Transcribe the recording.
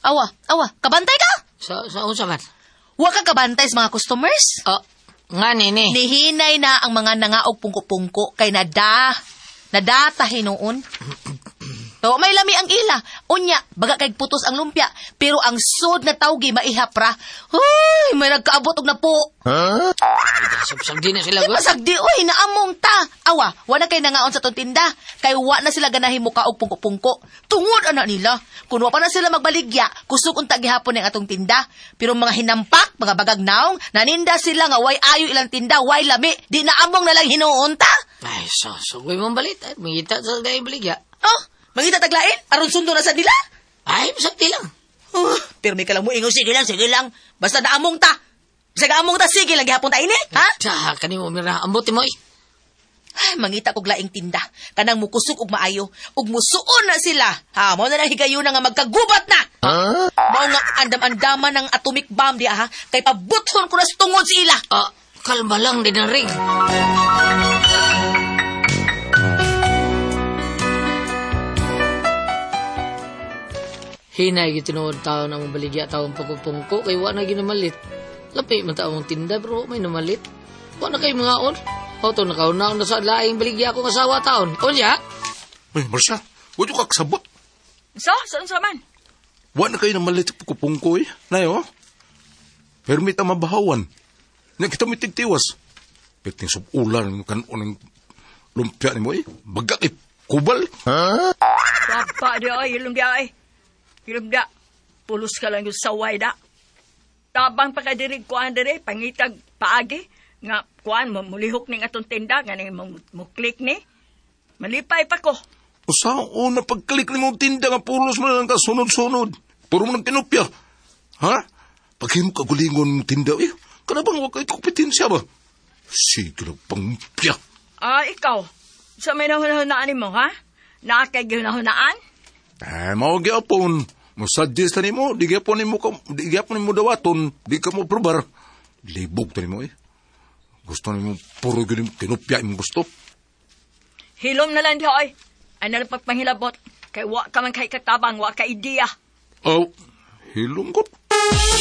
Awa, awa, kabantay ka? Sa unsa man? Wa ka kabantay sa mga customers? Oh, nga nini. Nihinay na ang mga nangaog pungko-pungko kay nada. Nadata hinuon. To may lami ang ila. Unya, baga kay putos ang lumpia, pero ang sud na tawgi maihap ra. Huy, may nagkaabot og napo. Sabsabdi na sila Di gud. pasagdi, oy, naamong ta. Awa, wala kay nangaon sa tong tinda. Kay wa na sila ganahin muka og pungko-pungko. Tungod ana nila. Kun wa pa na sila magbaligya, kusog unta gihapon ang atong tinda. Pero mga hinampak, mga bagag naong, naninda sila nga way ayo ilang tinda, way lami, di naamong na lang hinuon ta. Ay, so, so, mong balit. Ay, mangita sa dahil baligya. Oh, mangita taglain, aron sundo na sa nila. Ay, masakti lang. Oh, pero may kalang mo ingon, sige lang, sige lang. Basta naamong ta. Basta naamong ta, sige lang gihapon ta ini, ha? Sa, kanimo mira, ambot mo eh. Ay, mangita kog laing tinda. Kanang mukusog og maayo. Ug musuon na sila. Ha, mao na lang higayuna nga magkagubat na. Huh? Mao nga andam-andaman ng atomic bomb di ha. Kay pabuthon ko na sa tungod sa ila. Ah, kalma lang din ang ring. Hinay gitinuod tao na mong baligya taong pagpupungko kay wa na ginamalit. Lapi man taong tinda pero wa may namalit. Wa na kay mga on. Auto nakauna na sa laing baligya akong asawa taon. Unya? Ay, Marcia, wa ka kasabot. So, saan sa man? Wa na kayo namalit sa pungko eh. Nayo, permit ang mabahawan. Nga kita may tigtiwas. Piting subulan kanon ng lumpia ni mo eh. Baga kay kubal. Baba di ay, ilong di ay. Ilong di. Pulos ka lang yung saway da. Tabang pa ka diri kuan diri, pangitag paagi. Nga kuan mo mulihok ning atong tinda, nga ning mo, mo click ni. Malipay pa ko. Usaon na pagklik ni mong tinda nga pulos mo na lang ka sunod-sunod. Puro mo ng kinupya. Ha? Paghimo ka gulingon mong tinda eh. Kana bang wa kay kompetensya ba? Sige lang pangpya. Ah, ikaw. Sa may nahunahunaan mo, ha? Naa kay gihunahunaan? Eh, mao gyapon. Mo suggest ta nimo, di gyapon nimo ka, di gyapon nimo dawaton, di ka mo probar. Libog ta nimo eh. Gusto nimo puro gyud nimo kinupya imong gusto. Hilom na lang di ay. Ay na lang pagpanghilabot. Kay wa ka man kay katabang, wa ka ideya. Oh, hilom ko.